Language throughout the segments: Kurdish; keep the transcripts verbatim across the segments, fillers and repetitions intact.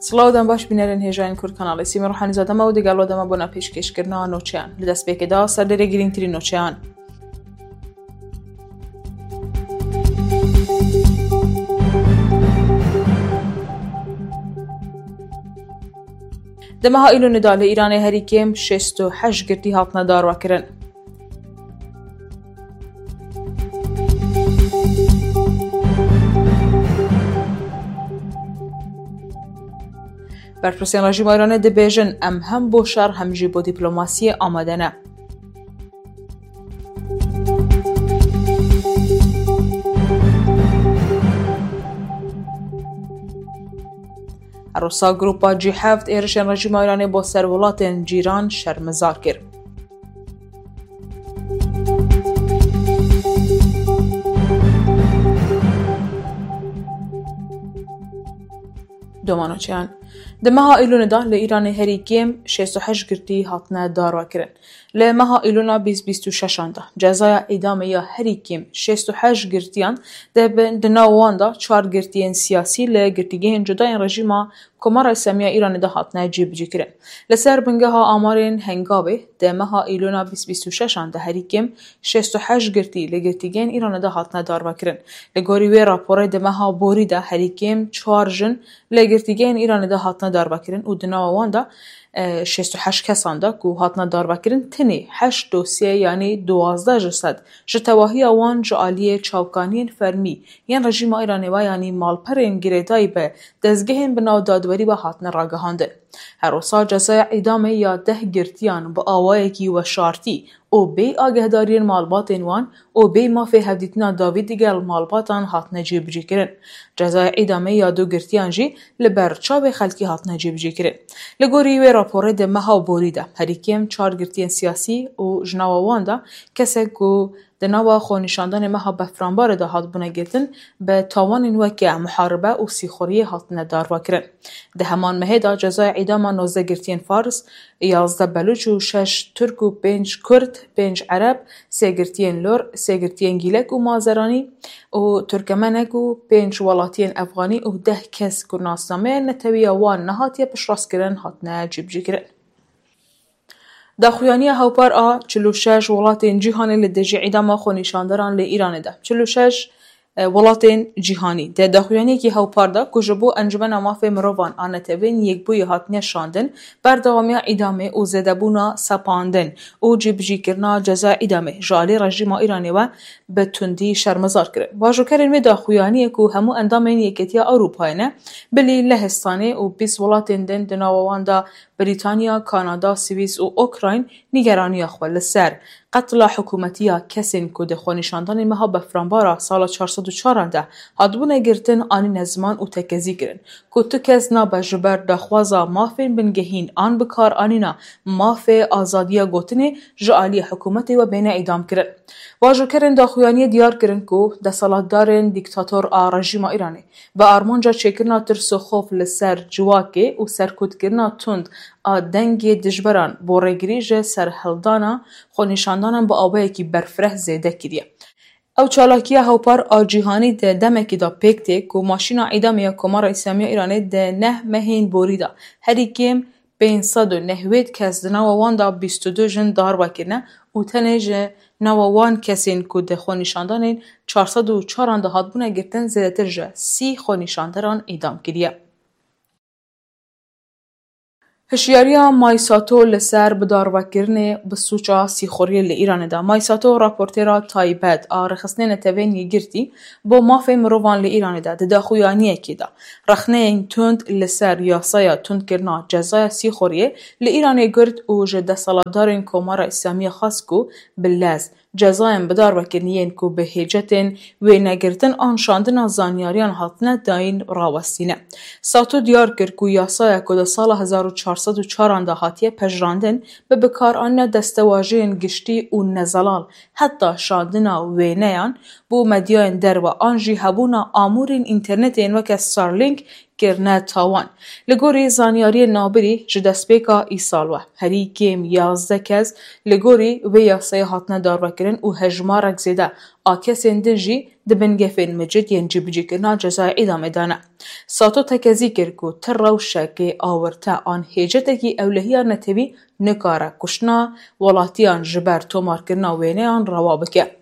Silav dem baş bînerên hêjayên Kurd kanalê Sîmê Ruhanîzade me û digel we dema bona pêşkêşkirina noçeyan. Li destpêkê de serdêrê girîngtirîn noçeyan. Di meha Îlonê de li Îranê herî kêm şêst û heşt girtî hatine darvekirin. Berpirsên rejîma Îranê dibêjin, em hem bo şer hem jî bo dîplomasiyê amade ne. Her wisa Grupa G heft êrişên rejîma Îranê bo ser welatên cîran şermezar kir. Domanoçeyan. Di meha Îlonê de li Îranê herî kêm şêst û heşt girtî hatine darvekirin. Li meha Îlona bîst bîst û şeşan de cezaya îdamê ya herî kêm şêst û heşt girtiyan de bin, di nav wan de çar girtiyên siyasî li girtîgehên cudayên rejîma Komara Îslamî ya Îranê de hatine cîbicîkirin. Li ser bingeha amarên Hengavê, di meha Îlona bîst bîst û şeşan de herî kêm şêst û heşt girtî li girtîgehên Îranê de hatine darvekirin. Li gorî wê raporê di meha borî de herî kêm çar jin li girtîgehên Îranê de hatine darvekirin û di nava wan de, e, şêst û heşt kesan de ku hatine darvekirin, tenê heşt dosye, yanî duwazdeh ji sed, ji tevahiya wan ji aliyê çavkaniyên fermî yên rejîma Îranê ve, yanî malperên girêdayî bi dezgehên bi nav dadwerî ve hatine ragihandin. Her wisa cezaya îdamê ya deh girtiyan bi awayekî weşartî û bê agehdariyên malbatên wan û bê mafê hevdîtina dawî digel malbatan hatine cîbicîkirin. Cezaya îdamê ya du girtiyan jî li ber çavê xelkî hatine cîbicîkirin. Li gorî wê raporê di meha borî de herî kêm çar girtiyên siyasî û ji nava wan de kesek ku di nava xwenîşandanê meha Befranbarê de hatibûne girtin, bi tawanên weke muharibe û sîxuriyê hatine darvekirin. Di heman mehê de cezaya îdama nozdeh girtiyên Fars, yazdeh Belûç û şeş Tirk û pênc Kurd, pênc Ereb, sê girtiyên Lor, sê girtiyên Gîlek û Mazeranî û Turkemenek û pênc welatiyên Efxanî û deh kes ku nasnameya netewiya wan nehatiye piştrastkirin, hatine cîbicîkirin. Daxuyaniya hewpar a çil û şeş welatên cîhanê li dijî îdama xwenîşandaran li Îranê de. Çil û şeş, e, welatên cîhanî di daxuyaniyekî hewpar de ku ji bo Encûmena Mafê Mirovan a Netewên Yekbûyî hatine şandin, berdewamiya îdamê û zêdebûna sepandin û cîbicîkirina ceza îdamê ji alî rejîma Îranê ve bi tundî şermezar kirin. Bajokerên wê daxuyaniyê ku hemû endamên Yeketiya Ewropayê ne, bilî Lehistanê û bîst welatên din di nava wan de Brîtanya, Kanada, Swîs û Ukrayn nîgeraniya xwe li ser qetla hikûmetî ya kesên ku di xwenîşandanê meha Befranbara sala çar sed û çar de hatibûne girtin anîne ziman û tekezî kirin ku tu kes nabe ji ber daxwaza mafên bingehîn an bikaranîna mafê azadiya gotinê ji aliyê hikûmetê ve bêne îdamkirin. Bajokerên daxuyaniyê diyar kirin ku desthilatdarên dîktator a rejîma Îranê bi armanca çêkirina tirs û xof li ser civakê û serkutkirina tund a dengê dijberan bo rêgirî ji serhildana xwenîşandanan bi awayekî berfireh zêde kiriye. Ew çalakiya hewpar a cîhanî di demekî de pêk tê ku maşîna îdamê ya Komara Îslamî ya Îranê di neh mehên borî de herî kêm pênc sed û newêd kes, di nava wan de bîst û du jin, darve kirine û tenê ji nava wan kesên ku di xwenîşandanên çar sed û çar de hatbûne girtin, zêdetir ji sî xwenîşanderan îdam kiriye. Hişyariya May Sato li ser bidarvekirinê bi sûca sîxuriyê li Îranê de. May Sato, raportêra taybet a Rêxistinê Netewên Yekgirtî bo Mafê Mirovan li Îranê de, di daxuyaniyekê de rexneyên tund li ser yasaya tundkirina cezaya sîxuriyê li Îranê girt û ji desthilatdarên Komara Îslamî ya xwest ku bi lez cezayên bidarvekirinê yên ku bi hêcetên wênegirtin an şandina zanyariyan hatine dayîn rawestîne. Sato diyar kir ku yasaya ku di sala hezar û çar sed û çar de hatiye pejirandin, bi bikaranîna destewajiyên giştî û nezelal, heta şandina wêneyan bo medyayên derve an jî hebûna amûrên înternetê yên weke Starlink kirine tawan. Li gorî zanyariyên navbirî, ji destpêka îsal we herî kêm yazdeh kes li gorî vê yasayê hatine darvekirin û hejmarek zêde a kesên din jî di bin gefên micid yên cîbicîkirina cezayê îdamê de ne. Sato tekezî kir ku ti rewşekê awirte an hêcetekî ewlehiya netewî nikare kuştina welatiyan ji ber tomarkirina wêneyan rewa bike.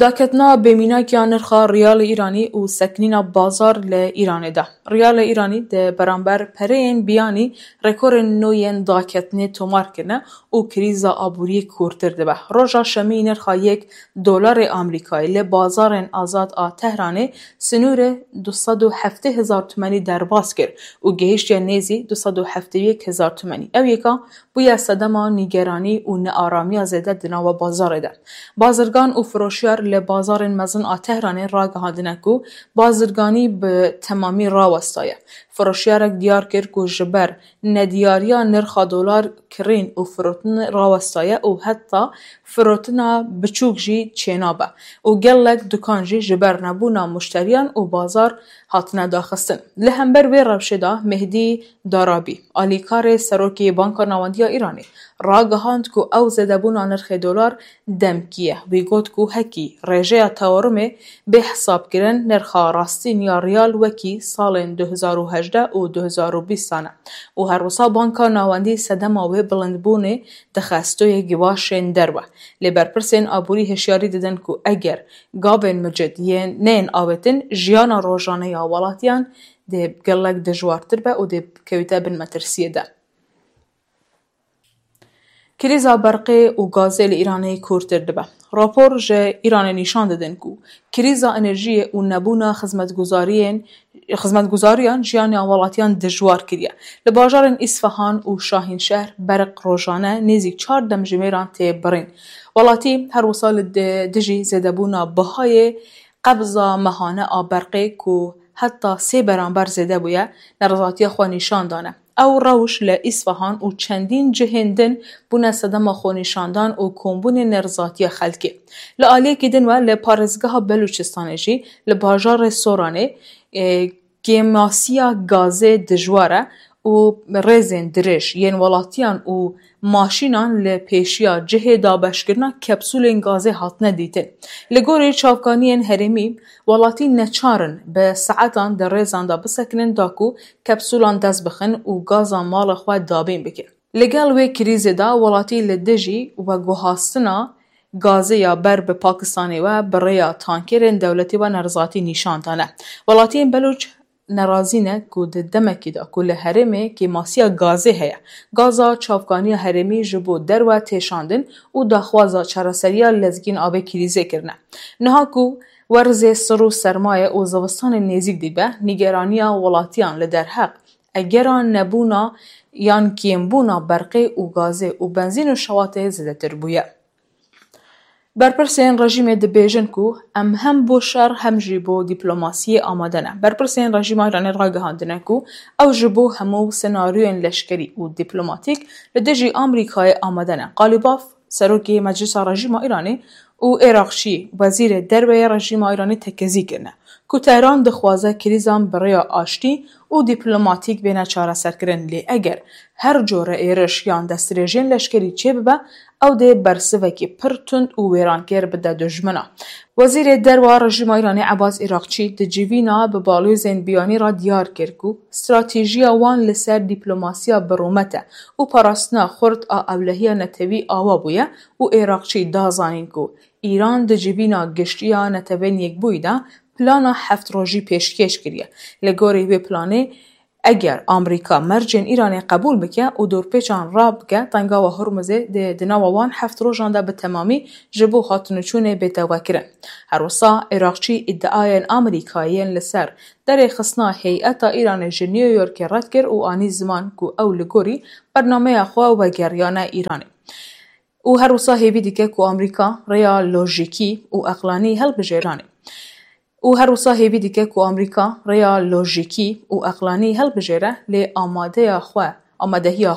Daketina bêmînak ya nirxa riyalê Îranî û sekinîna bazar li Îranê de. Riyalê Îranî di beramber pereyên biyanî rekorên nû yên daketinê tomar kirine û krîza aboriyê kûrtir dibe. Roja Şemî nirxa yek dolarê Amerîkayê li bazarên azad a Tehranê sinûrê du sed û heftê hezar tumenî derbas kir û gehiştiye nêzî du sed û heftê yek hezar tumenî. Ew yeka bûye sedema nîgeranî û nearamiya zêde di nava bazarê de. Bazirgan û firoşiyar li bazarên mezin a Tehranê ragihandine ku bazirganî bi temamî rawestaye. Firoşiyarek diyar kir ku ji ber nediyariya nirxa dolar kirîn û firotin rawestaye û heta firotina biçûk jî çênabe û gelek dukan jî ji ber nebûna muşteriyan û bazar hatine daxistin. Li hember vê rewşê de Mehdî Darabî, alîkarê serokê Banka Navendî ya Îranê, ragihand ku ew zêdebûna nirxê dolar demkî ye. Wî got ku hekî rêjeya tewarumê bê hesabkirin, nirxa rastîn ya riyal wekî salên du hezar û hejdeh û du hezar û bîst e û her wisa Banka Navendî sedema wê bilindbûnê dixe stoyê givaşên derve. Lê berpirsên aborî hişyarî didin ku eger gavên micid yên neyên avêtin, jiyana rojane ya welatiyan dê gelek dijwartir be û dê kewite bin metirsiyê de. Krîza berqê û gazê li Îranê kûrtir dibe. Rapor ji Îranê nîşan didin ku krîza enerjiyê û nebûna xizmetguzariyên, xizmetguzariyan jiyana welatiyan dijwar kiriye. Li bajarên Îsfahan û Şahînşehr berq rojane nêzîk çar demjimêran tê birîn. Welatî her wisa li di-, dijî zêdebûna bihayê qebza mehane a berqê ku heta sê beramber zêde bûye, nerizatiya xwe nîşan dane. Ew rewş li Îsfahan û çendîn cihên din bûne sedema xwenîşandan û kombûnê nerizatiya xelkê. Li aliyekî din we li parêzgeha Belûçistanê jî li bajarê Soranê, e, kêmasiya gazê dijwar e û rêzên dirêj yên welatiyan û maşînan li pêşiya cihê dabeşkirina kapsûlên gazê hatine dîtin. Li gorî çavkaniyên herêmî, welatî neçar in bi saetan di rêzan de bisekinin da ku kapsûlan dest bixin û gaza mala xwe dabîn bikin. Li gel wê krîzê de welatî li dijî veguhastina gazê ya ber bi Pakistanê we bi rêya tankerên dewletê we nerizatî nîşan dane. Welatiyên Belûç nerazî ne ku di demekî de ku li herêmê kêmasiya gazê heye, gaza çavkaniya herêmî ji bo derve tê şandin û daxwaza çareseriya lezgîn a vê krîzê kirine. Niha ku werzê sir û sermaye û zivistanê nêzîk dîbe, nîgeraniya welatiyan li derheq egera nebûna yan kêmbûna berqê û gazê û benzîn û şewatê zêdetir bûye. Berpirsên rejîmê dibêjin ku em hem bo şer hem jî bo dîplomasiyê amade ne. Berpirsên rejîma Îranê ragihandine ku ew ji bo hemû senaryoyên leşkerî û dîplomatîk li dijî Amerîkayê amade ne. Qalîbaf, serokê Meclisa Rejîma Îranê û Iraqçî, wezîrê derve yê rejîma Îranê tekezî kirine ku Tehran dixwaze krîzan bi rêya aştî û dîplomatîk bêne çareserkirin, lê eger her cure êriş yan destdirêjên leşkerî çêbibe, ew dê bersivekî pir tund û wêrankêr bide dijmina. Wezîrê Derva Rejîma Îranê Ebas Îraqçî di civîna bi balozên biyanî re diyar kir ku stratejiya wan li ser dîplomasiya bi rûmet e û parastina xurt a ewlehiya netewî awa bûye û Îraqçî da zanîn ku Îran di civîna giştî ya Netewên Yekbûyî de plana heft rojî pêşkêş kiriye. Li gorî wê planê, eger Amerîka mercên Îranê qebûl bike û dorpêçan rabike, tengawa Hormuzê dê di nava wan heft rojan de bi temamî ji bo hatûnûçûnê bête vekirin. Her wisa Iraqçî îdiayên Amerîkayê yên li ser derêxistina heyeta Îranê ji New Yorkê red kir û anî ziman ku ew li gorî bernameya xwe vegeriyane Îranê. Û her wisa hêvî dike ku Amerîka rêya lojîkî û eqlanî hilbijêranê. Û her wisa hêvî dike ku Amerîka rêya lojîkî û eqlanî hilbijêre, lê amadeya xwe, amadehiya